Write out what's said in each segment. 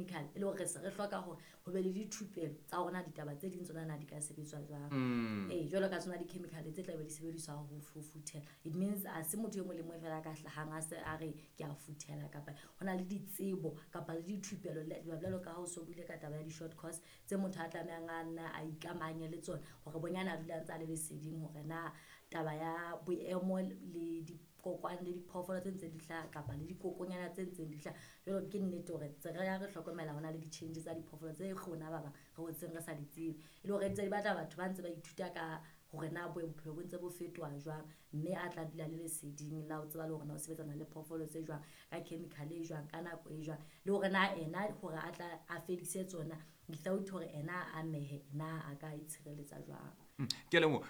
di-chemical e le hore re se re hloka hore ho be le dithupelo tsa hore na ditaba tse ding tsona na di ka sebetswa jwang. Ee, jwalo ka tsona di-chemical tse tlabe di sebediswa ho futhela. It means ha se motho e mong le mong fela a ka hlahang a se a re ke a futhela, kapa ho na le ditsebo kapa le dithupelo jwalo ka ha o so buile ka taba ya di-short course tse motho a tlamehang a nna a ikamahanye le tsona hore bonyane a dula a ntse a le leseding hore na taba ya boemo le dikokwane le diphoofolo tse ntseng di hlaha kapa le dikokonyana tse ntseng di hlaha. Jwalo ke nnete hore tse re ya re hlokomela hona le di-change tsa diphoofolo tse rona ba bang re hotseng re sa di tsebe. E le hore ntse di batla batho ba ntse ba ithuta ka hore na bophelo bo ntse bo fetoha jwang, mme a tla dula le leseding la ho tseba le hore na o sebetsana le phoofolo tse jwang, ka chemical e jwang, ka nako e jwang, le hore na ena hore a tla a fedise tsona without hore ena a amehe, na a ka itshireletsa jwang. Ke a leboha.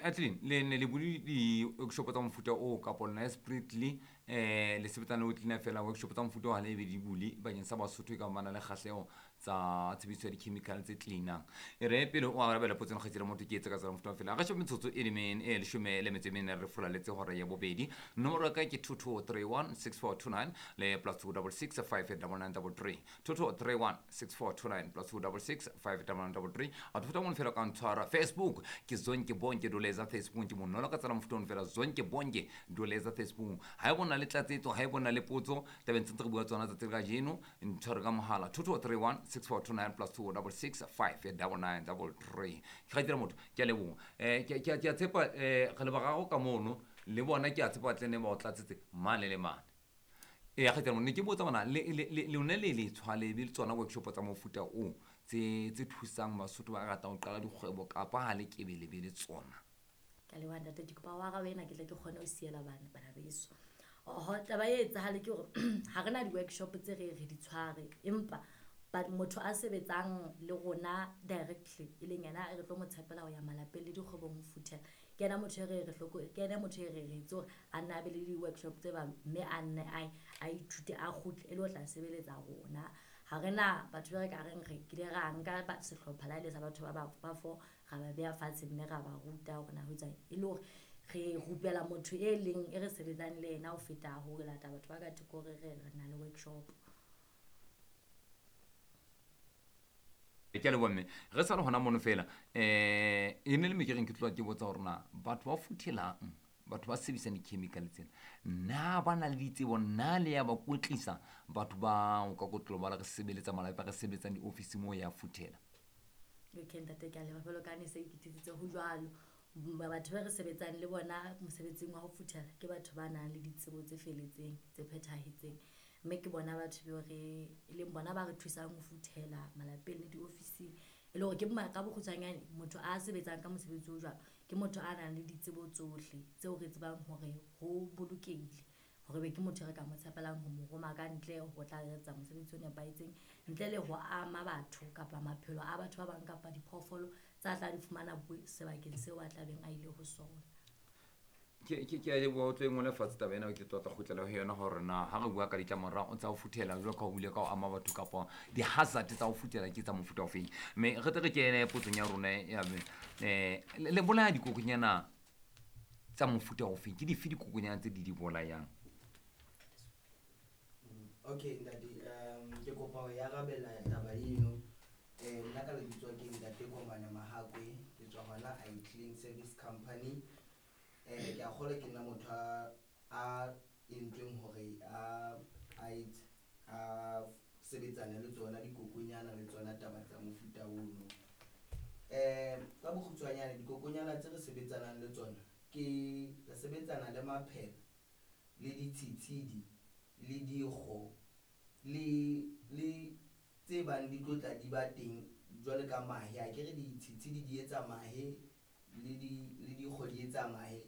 Adeline, le ne le bule di-workshop tsa mofuta o kapa lona Spiritly, le sebetsana le ho cleaner fela workshop tsa mofuta o ha le be di bule bakeng sa Basotho e ka ba na le kgahleho tsa tshebediso ya di-chemical tse cleanang. E re pele o arabela potso ena kgaitsedi motho ke etse ka tsela mofuta o fela. Re shebe metsotso e le e leshome le metso e mene re fulaletse hora ya bobedi. Nomoro ya ka ke 22316429 le +266 59933. 22316429 +266 59933. A tfuta mo fela ka ntshwara Facebook ke Zonke Bonke Doleza Facebook ke monolo ka tsela mofuta o fela Zonke Bonke Doleza Facebook. Ha e bona le tlatsetso, ha e bona le potso tabeng tse re bua tsona tsatsi la kajeno, ntshware ka mohala 22316429 +266 59933. Ke kgaitsedi motho, ke a leboha. Ke a tshepa re le bararo ka mono le bona, ke a tshepa tle ne ba o tlatsetse mane le mane. Ee, kgaitsedi motho, ne ke botsa bona le lone le le tshwale be le tsona workshop tsa mofuta o tse thusang Basotho ba ratang ho qala dikgwebo kapa ha le kebe le be le tsona. Ka leboha ntate, ke kopa o arabe ena ke tle ke kgone ho siela bana beso. Oho, taba e etsahale ke hore ha re na di-workshop tse re di tshware, empa motho a sebetsang le rona directly e leng yena re tlo mo tshepela ho ya malapeng le dikgwebong ho futhela, ke yena motho e re re hloko, ke yena motho e re re itse hore a nne a be le di-workshop tse bang, mme a nne a ithute a kgutle e le ho tla sebeletsa rona. Ha re na batho ba re ka reng re kile ra nka sehlopha la le sa batho ba four ra ba beha fatshe mme ra ba ruta hore na ho etsang, e le hore re rupela motho e leng e re sebetsang le yena ho feta ho lata batho ba ka thoko hore re na le workshop. Ke a leboha mme. Re sa le hona mono fela, e ne le me ke reng ke tloha ke botsa hore na batho ba futhelang, batho ba sebedisang di-chemical tsena, na ba na le ditsebo, na le ya ba kwetlisa batho ba o ka kotlolo ba re sebeletsa malapa, re sebetsang di-office moo ya futhela? Okay ntate, ke a leboha. Jwalo ka ha ne se ke thusitse ho jwalo, batho ba re sebetsang le bona mosebetsing wa ho futhela ke batho ba nang le ditsebo tse felletseng, tse phethahetseng, mme ke bona batho beo re e leng bona ba re thusang ho futhela malapeng le diofising. E le hore ke ka bokgutshwanyane motho a sebetsang ka mosebetsi o jwalo ke motho a nang le ditsebo tsohle tseo re tsebang hore ho bolokehile hore be ke motho e re ka mo tshepelang ho mo roma ka ntle ho tla etsa mosebetsi o nepahetseng ntle le ho ama batho kapa maphelo a batho ba bang kapa diphoofolo tsa tla di fumana sebakeng seo a tlabeng a ile ho sona. Ke a leboha, o tlo e ngole fatshe taba ena, ke tlo tla kgutlela ho yona hore na ha re bua ka ditlamorao tsa ho futhela jwalo ka ho bile ka ho ama batho kapa di-hazard tsa ho futhela ke tsa mofuta ofeng. Mme re tle re kene potsong ya rona ya le bolaya dikokonyana tsa mofuta ofeng, ke dife dikokonyana tse di di bolayang? Okay ntate, ke kopa ho arabela taba eno. Nna ka lebitso ke ntate Komane Mahakwe, ke tswa hona I Clean Service Company. Ke a kgolwa ke nna motho a entsweng hore a sebetsane le tsona dikokonyana le tsona taba tsa mofuta ono. Ka bokgutshwanyane dikokonyana tse re sebetsanang le tsona ke re sebetsana le maphela le ditshitshidi le dikgo le tse bang di tlo tla di ba teng jwale ka mahe. Akere ditshitshidi di etsa mahe le dikgo di etsa mahe,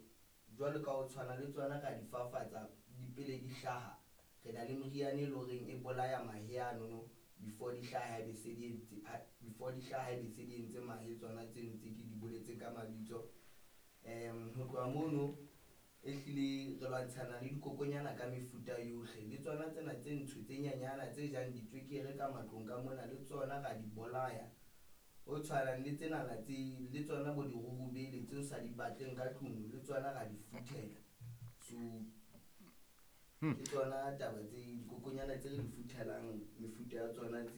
jwalo ka ho tshwana le tsona ra di fafatsa di pele di hlaha. Re na le moriana e leng horeng e bolaya mahe anono before di hlaha, e be se di entse, before di hlaha e be se di entse mahe tsona tseno tse ke di boletseng ka mabitso. Ho tloha mono ehlile re lwantshana le dikokonyana ka mefuta yohle, le tsona tsena tse ntsho tse nyenyana tse jang ditswekere ka matlong ka mona le tsona ra di bolaya. Ho tshwanang le tsenana tse le tsona bo dirurubele tse o sa di batleng ka tlung le tsona ra di futhela. So ke tsona taba tse dikokonyana tse re di futhelang mefuta ya tsona tse.